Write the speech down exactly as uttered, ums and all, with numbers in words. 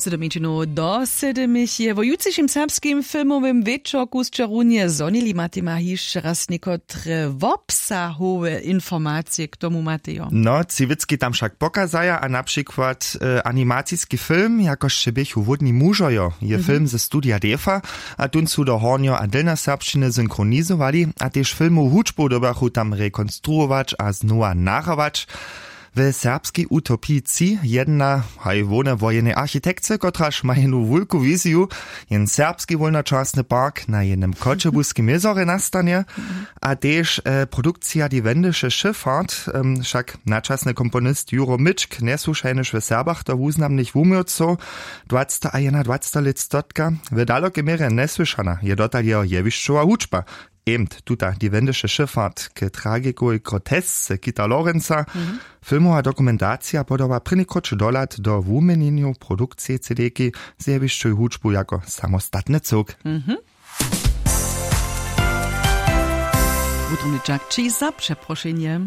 Sydomjeńšinow do sydymich je wo jutřišim serbskim filmowym wječorku sćerunje zhonili matima hišće raz někotre wobsahowe informacije k tomu matejo. No tři wěcki tam wšak pokazaja a na přikład animaciski film jakož će běchu hłódni mužojo je film ze studija defa, a tón su do hornjo a dylnjoserbšćiny synchronizowali a tež filmowu hudźbu dyrbjachu tam rekonstruować a znowa nahrawać. W serbskej utopiji tři jedna haj hłowne wo jenej architekce kotraž ma jenu wulku wiziju, jen serbski wólnočasny park na jenem choćebuskim jězorje nastanje. A tež produkcija die wendische schiffart, wšak načasny komponist juro mičk njesłušajnyž w serbach do wuznamnych wuměłcow dwacta a jedna dwacta lětstotka. W dalokej měrje njesłyšana je dotal jeho jewišćowa hudźba. Emt tuta die wendische schiffart k tragikowej grotesce kita lorenza. Filmowa dokumentacija podoba prěnikroć dohlad do wuměnjenjow produkcije cdki z jewišćowej hudźbu jako samostatny cyłk. Wutrobny čak ći za přeprošenje.